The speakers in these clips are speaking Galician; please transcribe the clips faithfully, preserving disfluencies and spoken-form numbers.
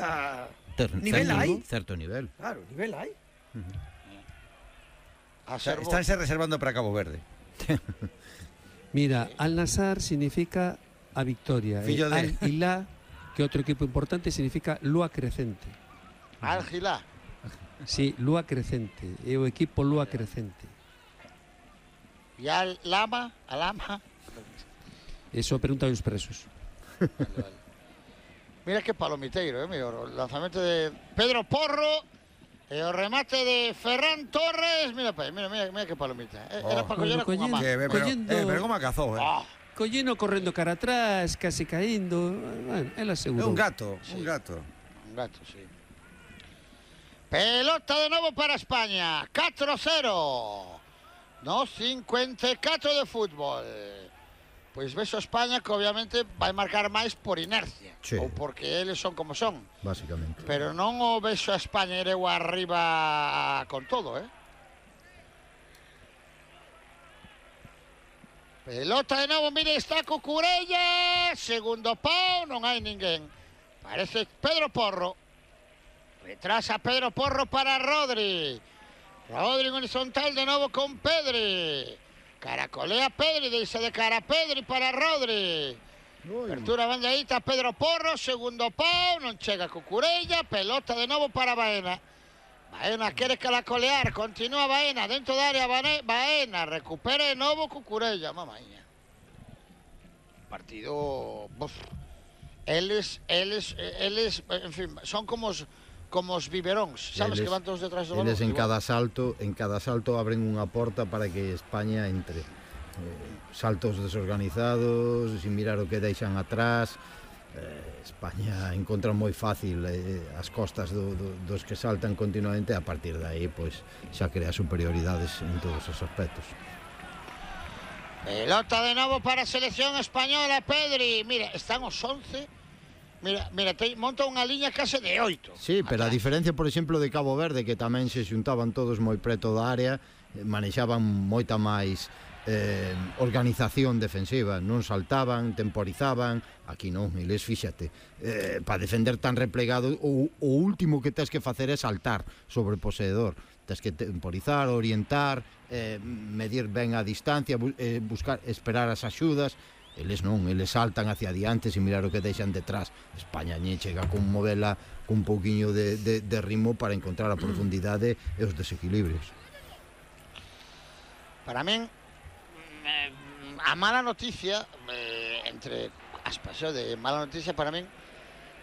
a... Ter, nivel certo, hai. Certo nivel. Claro, nivel hai. A O sea, Servo. estánse reservando para Cabo Verde. Mira, Al-Nassr significa a victoria. Fillo e de- Al-Hilá, que outro equipo importante, significa lúa crecente. Al-Hilá. Sí, lúa crecente. É o equipo lúa crecente. E Al-Lama, Al-Lama. Eso preguntan os presos. Vale, vale. Mira que palomiteiro, eh, mira, o lanzamento de Pedro Porro e o remate de Ferran Torres. Mira, pa, mira, mira, mira que palomita. Eh, Oh. Era para coller Bueno, con a collendo. mano. Que, pero, Collendo- eh, pero como a cazou, eh? Ah, Collino correndo cara atrás, casi caíndo. Bueno, él É asegurou. un gato, Sí. un gato. un gato, sí. Pelota de novo para España. catro cero. No cincuenta e catro de fútbol. Pois ves a España que obviamente vai marcar máis por inercia. Sí. Ou porque eles son como son. Básicamente. Pero non o vexo a España ireu arriba con todo, eh? Pelota de novo, mire, está Cucurella. Segundo pau, non hai ninguén. Parece Pedro Porro. Retrasa Pedro Porro para Rodri. Rodri en horizontal de novo con Pedri. Caracolea Pedri, deixa de cara a Pedri para Rodri. Apertura bandeadita Pedro Porro, segundo pau, non chega Cucurella, pelota de novo para Baena. Baena quere caracolear, continúa Baena, dentro da área Baena, Baena recupera de novo Cucurella, mamaña. Partido... Buf. Eles, eles, eles, en fin, son como os, como os biberóns, sabes, Eles- que van todos detrás do balón. Eles en igual. cada salto, en cada salto abren unha porta para que España entre. Eh, saltos desorganizados, sin mirar o que deixan atrás. Eh, España encontra moi fácil eh, as costas do, do, dos que saltan continuamente, e a partir de aí pois xa crea superioridades en todos os aspectos. Pelota de novo para a selección española, Pedri. Mira, están os once. Mira, mira, te, monta unha liña case de oito. Sí, pero a diferencia, por exemplo, de Cabo Verde, que tamén se xuntaban todos moi preto da área, eh, manexaban moita máis eh, organización defensiva, non saltaban, temporizaban. Aquí non, eles, fíxate, eh, para defender tan replegado, o, o último que tens que facer é saltar sobre o poseedor. Tens que temporizar, orientar, eh, medir ben a distancia, bu eh, buscar, esperar as axudas. Eles non, eles saltan hacia adiante sin mirar o que deixan detrás. España lle chega con movela cun pouquiño de, de, de ritmo para encontrar a profundidade e os desequilibrios. Para min, mm, a mala noticia, eh, entre aspas, eh, de mala noticia para min,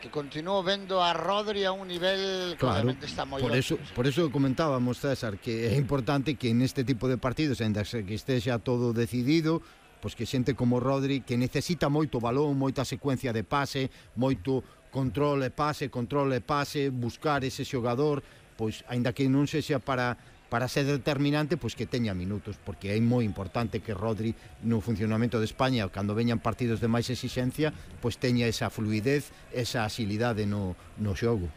que continuo vendo a Rodri a un nivel que Claro, obviamente está moi por alto, eso, sí. por eso comentábamos, César, que é importante que neste tipo de partidos, ainda que estexa todo decidido, pois que xente como Rodri, que necesita moito balón, moita secuencia de pase, moito control e pase, control e pase, buscar ese xogador, pois aínda que non sexa para para ser determinante, pois que teña minutos, porque é moi importante que Rodri no funcionamento de España, cando veñan partidos de máis exixencia, pois teña esa fluidez, esa asilidade no, no xogo.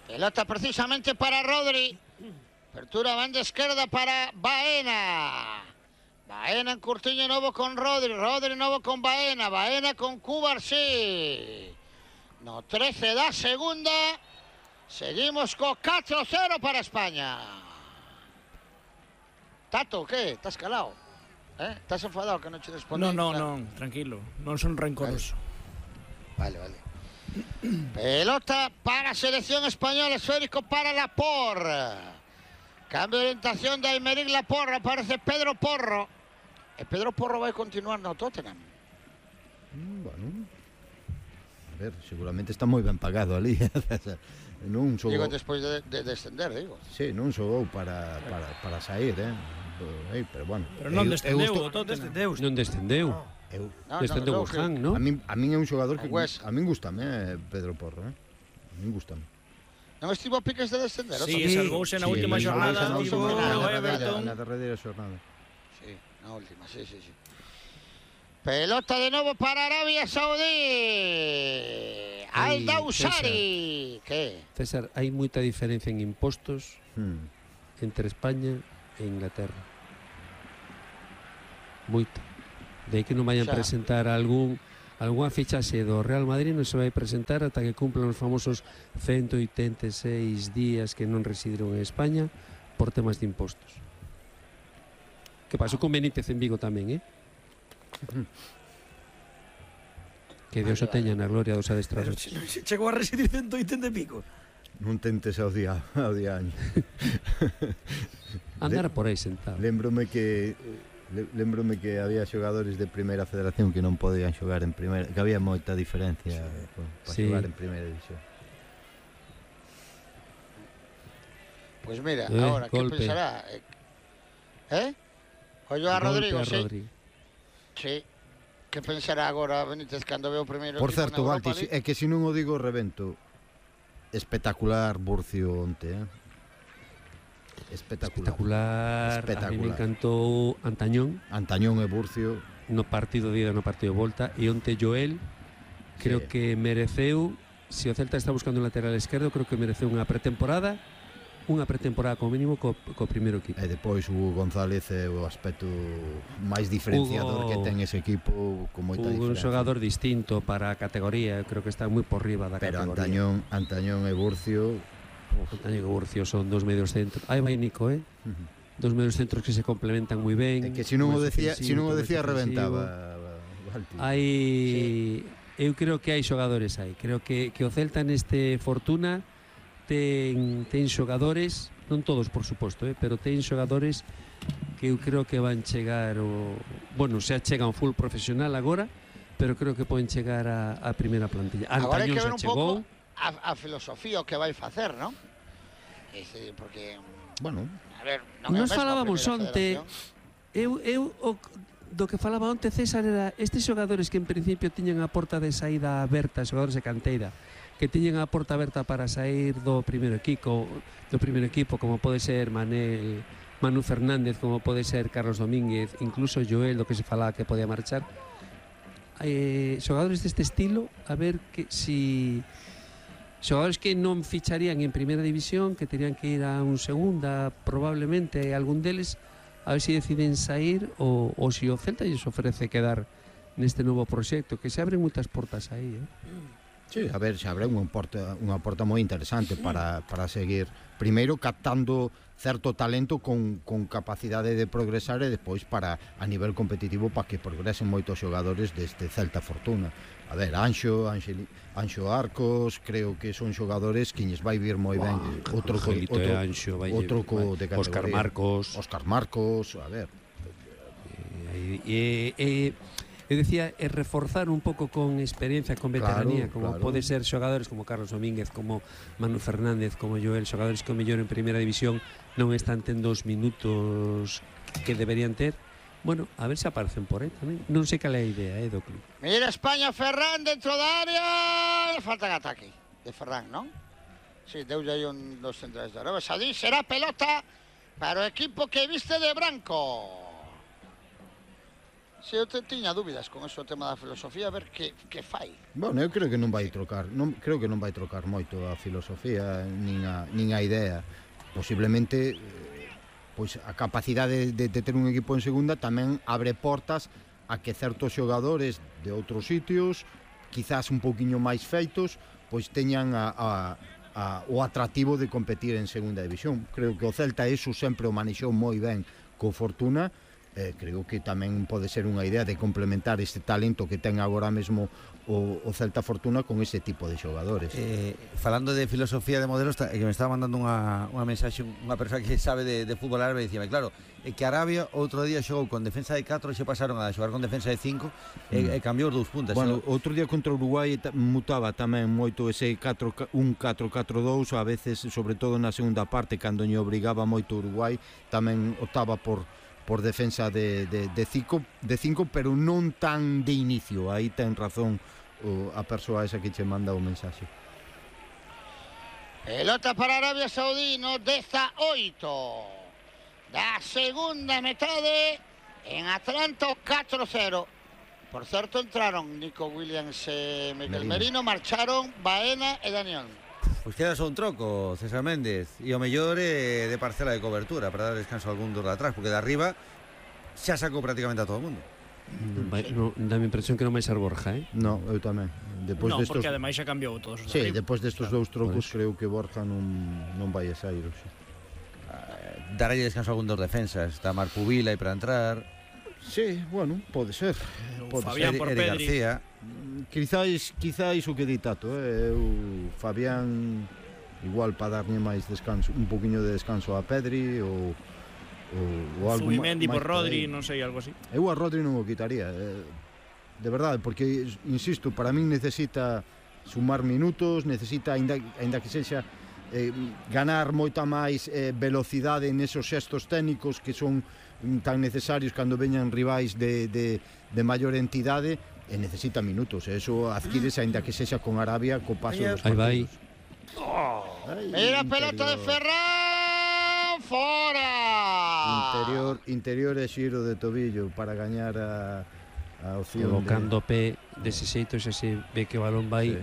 Pelota precisamente para Rodri. Apertura banda esquerda para Baena. Baena en curtiño novo con Rodri. Rodri novo con Baena. Baena con Cubarsí. No trece da segunda. Seguimos co catro cero para España. Tato, que? Estás calado? Eh? Estás enfadado que non che respondí? Non, non, Claro. non, tranquilo. Non son rencoroso. Vale, vale. Pelota para a selección española, esférico para Laporte. Cambio de orientación de Aymeric Laporte, aparece Pedro Porro. E Pedro Porro vai continuar no Tottenham. Mm, bueno, a ver, seguramente está moi ben pagado ali. Non xogou, Digo, despois de, de descender, digo. sí, non xogou para, para, para sair, eh? Eh, pero bueno. Pero non eu- eu descendeu estou- o Tottenham. Non descendeu. eu- No, Descendeu no, o no, Han, que- non? a min a min é un xogador que O West. a min gustame, eh, Pedro Porro, eh? A min gustame. Non estivo a piques de descender. Sí, outro? salvouse na Sí, última salvouse xornada, na tivo última- no, o na- Everton. na derradeira xornada. Sí, na última, sí, sí, sí. Pelota de novo para Arabia Saudí. Ay, Al-Dawsari. Que? César, hai moita diferencia en impostos Hmm. entre España e Inglaterra. Moita. De aí que non vayan Xa. presentar algún algunha fichaxe do Real Madrid non se vai presentar ata que cumplan os famosos ciento oitenta e seis días que non residiron en España por temas de impostos. Que pasou con Benítez en Vigo tamén, eh? Que Dios o teña na gloria dos Pero adestradores. che- non se chegou a residir ciento oitenta e pico. Non tentes ao día, ao día año. Andar por aí sentado. Lembrome que le, lembrome que había xogadores de Primeira Federación que non podían xogar en Primeira, que había moita diferencia para Sí. xogar en Primeira División. Pues mira, Eh, ahora, ¿qué golpe. pensará? ¿Eh? Oye a Golpe Rodrigo, a sí. Rodri. Sí. Que pensará agora Benítez cando ve o primeiro Por equipo certo, na Europa Valti, League? é que se non o digo revento. Espectacular Burcio onte, eh? Espectacular. Espectacular. A mí me Espectacular. encantou Antañón Antañón e Burcio, no partido de ida, no partido de volta, e onte Joel creo Sí. que mereceu, se o Celta está buscando un lateral esquerdo, creo que mereceu unha pretemporada, unha pretemporada como mínimo co, co primeiro equipo. e depois Hugo González é o aspecto máis diferenciador Hugo- que ten ese equipo con moita Un diferencia. xogador distinto para a categoría, creo que está moi por riba da Pero categoría. Antañón, Antañón e Burcio, Antañón e Burcio son dos medios centros. Aí vai Nico, eh? Dos medios centros que se complementan moi ben. é que se non o máis decía, se non o ofensivo, decía máis defensivo. reventaba. Valti. Hai eu creo que hai xogadores aí. Creo que que o Celta neste Fortuna ten ten xogadores, non todos por suposto, eh, pero ten xogadores que eu creo que van chegar o, bueno, xa chegan full profesional agora, pero creo que poden chegar a, a primeira plantilla. Agora hai Antañón que ver xa un chegou. pouco a, a filosofía o que vai facer, non? Ese, porque, Bueno, a ver, non é o Nos mesmo a falábamos Primeira onte, Federación. eu, eu o, do que falaba onte César era estes xogadores que en principio tiñan a porta de saída aberta, xogadores de canteira, que tiñan a porta aberta para sair do primeiro equipo, do primeiro equipo, como pode ser Manel, Manu Fernández, como pode ser Carlos Domínguez, incluso Joel, do que se falaba que podía marchar. Eh, xogadores deste estilo, a ver que si xogadores que non ficharían en primeira división, que terían que ir a un segunda, probablemente algún deles, a ver se si deciden sair ou, ou se si o Celta lles ofrece quedar neste novo proxecto, que se abren moitas portas aí, eh? sí, a ver, se abre unha porta, unha porta moi interesante para, para seguir primeiro captando certo talento con, con capacidade de progresar e depois para a nivel competitivo para que progresen moitos xogadores deste Celta Fortuna. A ver, Anxo, Anxeli, Anxo Arcos, creo que son xogadores que lles vai vir moi ben. Outro co, Angelito outro, e Anxo, vai, outro co de categoría. Óscar Marcos. Óscar Marcos, a ver. E, e, e, eu decía, é reforzar un pouco con experiencia, con veteranía, Claro, como claro. pode ser xogadores como Carlos Domínguez, como Manu Fernández, como Joel, xogadores que o mellor en primeira división non están tendo os minutos que deberían ter. Bueno, a ver se aparecen por aí tamén. Non sei cal é a idea, eh, do club. Mira España, Ferran dentro da área. Falta en ataque de Ferran, non? Sí, deulle aí un dos centrais de Arabia Saudí. Será pelota para o equipo que viste de branco. Se eu te tiña dúbidas con eso, o tema da filosofía, a ver que, que fai. Bueno, eu creo que non vai trocar, non creo que non vai trocar moito a filosofía nin a, nin a idea. Posiblemente eh, pois a capacidade de, de ter un equipo en segunda tamén abre portas a que certos xogadores de outros sitios, quizás un pouquiño máis feitos, pois teñan a, a, a, o atractivo de competir en segunda división. Creo que o Celta eso sempre o manexou moi ben co Fortuna. Eh, creo que tamén pode ser unha idea de complementar este talento que ten agora mesmo o, o Celta Fortuna con ese tipo de xogadores. Eh, falando de filosofía de modelos, ta- que me estaba mandando unha, unha mensaxe unha persoa que sabe de, de fútbol árabe, dicíame, claro, é que Arabia outro día xogou con defensa de catro e se pasaron a xogar con defensa de cinco e, Mm. e cambiou os dous puntas. Bueno, Xo- outro día contra o Uruguai ta- mutaba tamén moito ese catro, un catro catro dous, a veces, sobre todo na segunda parte, cando lle obrigaba moito o Uruguai, tamén optaba por por defensa de, de, de, cinco, de cinco, pero non tan de inicio. Aí ten razón o, a persoa esa que che manda o mensaxe. Pelota para Arabia Saudí no dezaoito da segunda metade en Atlanta catro cero. Por certo, entraron Nico Williams e Miquel Merino. Merino, marcharon Baena e Daniel. Pois queda só un troco, César Méndez, e o mellor é de parcela de cobertura para dar descanso a algún dos de atrás, porque de arriba xa sacou prácticamente a todo o mundo. Non vai, non, dá a impresión que non vai ser Borja, eh? No, eu tamén. Depois No, destos, porque ademais xa cambiou todos os sí, arriba. depois destos Claro, dous trocos por creo que Borja non, non vai a sair hoxe. Darlle descanso a algún dos defensas. Está Marco Vila aí para entrar. Sí, bueno, pode ser. O Pode Fabián Eri, por Eri Pedri. García. Quizáis, quizáis o que di Tato, eh? Eu, Fabián, igual para darlle máis descanso, un poquinho de descanso a Pedri ou, ou, ou algo Zubimendi por máis por Rodri, aí. non sei, algo así. Eu a Rodri non o quitaría, eh, de verdade, porque, insisto, para min necesita sumar minutos, necesita, ainda, ainda que sexa, eh, ganar moita máis eh, velocidade nesos xestos técnicos que son tan necesarios cando veñan rivais de, de, de maior entidade, e necesita minutos, e eso adquírese ainda que sexa con Arabia co paso dos Aí vai. partidos. Ai, Mira a pelota de interior. Ferran, fora. Interior, interior e xiro de tobillo para gañar a, a opción Colocando o pé dese xeito xa se ve que o balón vai Sí.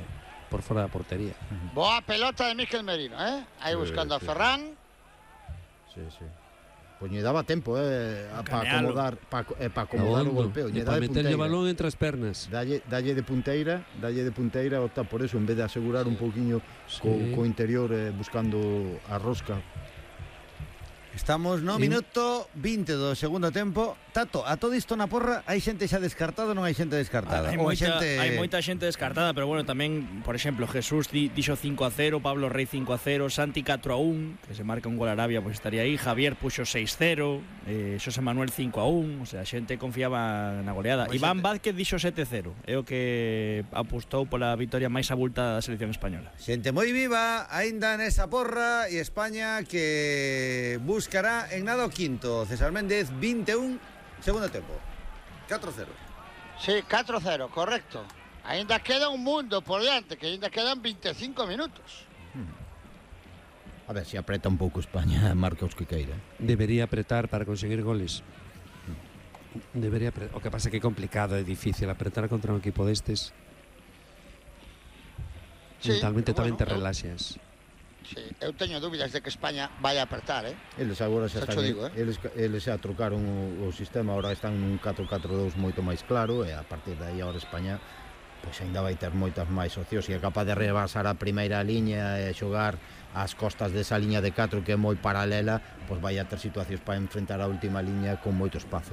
por fora da portería. Boa pelota de Mikel Merino, eh? Aí Sí, buscando a sí. Ferran. de... Sí, sí. Pois lle daba tempo, eh, para Canealo. acomodar, para eh, pa acomodar o golpeo, lle E dá para de meterlle o punteira. balón entre as pernas. Dalle, dalle de punteira, dalle de punteira, opta por eso, en vez de asegurar un pouquiño co, Sí. co interior eh, buscando a rosca. Estamos no Sí. minuto vinte do segundo tempo. Tato, a todo isto na porra hai xente xa descartada ou non hai xente descartada? Hai Ou moita, xente... hai moita xente descartada, pero bueno, tamén, por exemplo, Jesús di, dixo cinco a cero, Pablo Rey cinco a cero, Santi catro a un, que se marca un gol a Arabia, pois pues estaría aí, Javier puxo seis cero, eh, Xosé Manuel cinco a un, o sea, a xente confiaba na goleada. Pois Iván xente- Vázquez dixo sete cero, é o que apostou pola vitoria máis abultada da selección española. Xente moi viva, aínda nesa porra, e España que buscará en nada o quinto. César Méndez, vinte e un, segundo tempo. catro cero. Sí, catro cero, correcto. Ainda queda un mundo por diante, que ainda quedan veinticinco minutos. A ver, se apreta un pouco España, marca os que queira. Debería apretar para conseguir goles. Debería apretar. O que pasa é que é complicado, é difícil apretar contra un equipo destes. Sí, Mentalmente pero tamén bueno, te eu- relaxas. Sí, eu teño dúbidas de que España vai a apertar, eh? Eles agora xa Xa están, cho digo, eh. eles, eles xa trocaron o, o sistema, agora están nun catro catro dous moito máis claro, e a partir de aí agora España pois ainda vai ter moitas máis opcións, e é capaz de rebasar a primeira liña e xogar ás costas desa liña de catro que é moi paralela, pois vai a ter situacións para enfrentar a última liña con moito espazo.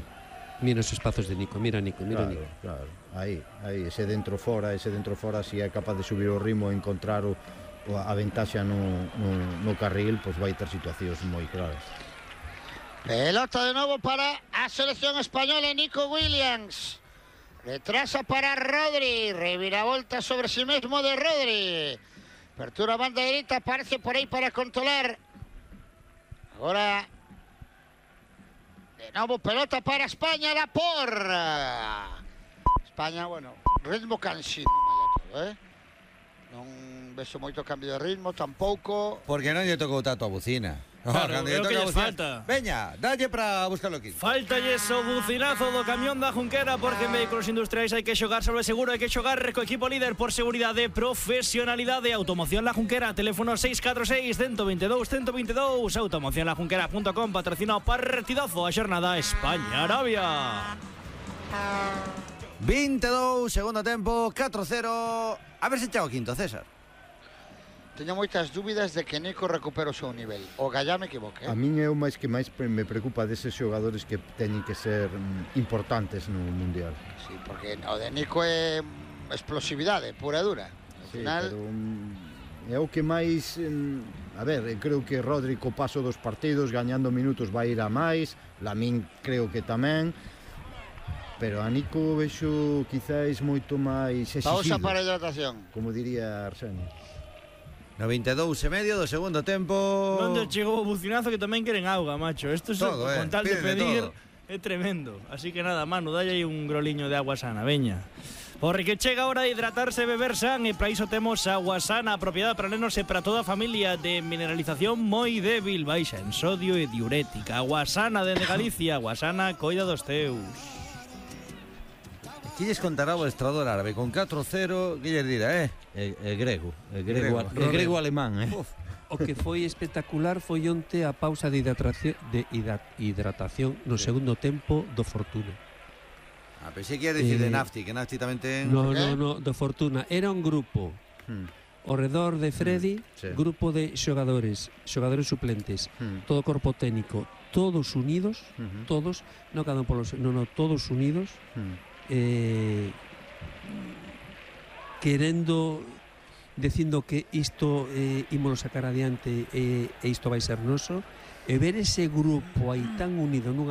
Mira os espazos de Nico, mira Nico, mira Claro, Nico. claro, aí, aí, ese dentro fora, ese dentro fora, si é capaz de subir o ritmo e encontrar o, o a ventaxa no, no, no carril, pois vai ter situacións moi claras. Pelota de novo para a selección española, Nico Williams. Retrasa para Rodri, reviravolta sobre sí mesmo de Rodri. Apertura a banda dereita, aparece por aí para controlar. Agora, de novo pelota para España, la porra. España, bueno, ritmo cansino, malla todo, eh? Non vexo moito cambio de ritmo, tampouco. Porque non lle tocou Tato a bucina. No, Claro, cando é lle o que toca a lles bucina, falta. Veña, dalle para buscar o quinto. Faltalle o bucinazo do camión da Junquera, porque en vehículos industriais hai que xogar sobre seguro, hai que xogar co equipo líder por seguridade, profesionalidade. Automoción La Junquera, teléfono seis catro seis, uno dos dous, uno dos dous. automoción la junquera punto com, patrocina o partidazo a xornada España-Arabia. vinte e dous, segundo tempo, catro cero. A ver se chega o quinto, César. Teño moitas dúbidas de que Nico recupere o seu nivel. O Gallá me equivoque, A eh? min é o máis que máis pre- me preocupa deses xogadores que teñen que ser mm, importantes no Mundial. Sí, porque o de Nico é mm, explosividade pura e dura. Al Sí, final, pero mm, é o que máis mm, a ver, eu creo que Rodri co paso dos partidos gañando minutos vai ir a máis, Lamín creo que tamén, pero a Nico vexo quizáis moito máis pausa exigido, para a hidratación. como diría Arsenio. No vinte e dous e medio do segundo tempo. Onde chegou o bucinazo que tamén queren auga, macho. Isto é Todo, con eh, tal de piden de pedir todo. é tremendo. Así que nada, Manu, dalle aí un groliño de agua sana, veña. Porque chega a hora de hidratarse e beber san, e para iso temos agua sana, propiedade para nenos e para toda a familia, de mineralización moi débil, baixa en sodio e diurética. Agua sana dende Galicia, agua sana, coida dos teus. Que lles contará o estrador árabe con catro cero, que lles dirá, eh? É, é grego, é Grego. grego, é grego alemán, eh? Uf. O que foi espectacular foi onte a pausa de hidratación, de hidra- hidratación no segundo tempo do Fortuna. Ah, pensei que ia dicir de Eh, Nafti, que Nafti tamén ten... No, por qué? no, no, de Fortuna. Era un grupo Hmm, ao redor de Freddy, sí. grupo de xogadores, xogadores suplentes, hmm, todo corpo técnico, todos unidos, ujú, todos, no cada un polos, no, no, todos unidos, hmm. eh, querendo, dicindo que isto eh, ímolo sacar adiante e, e isto vai ser noso, e ver ese grupo aí tan unido nunha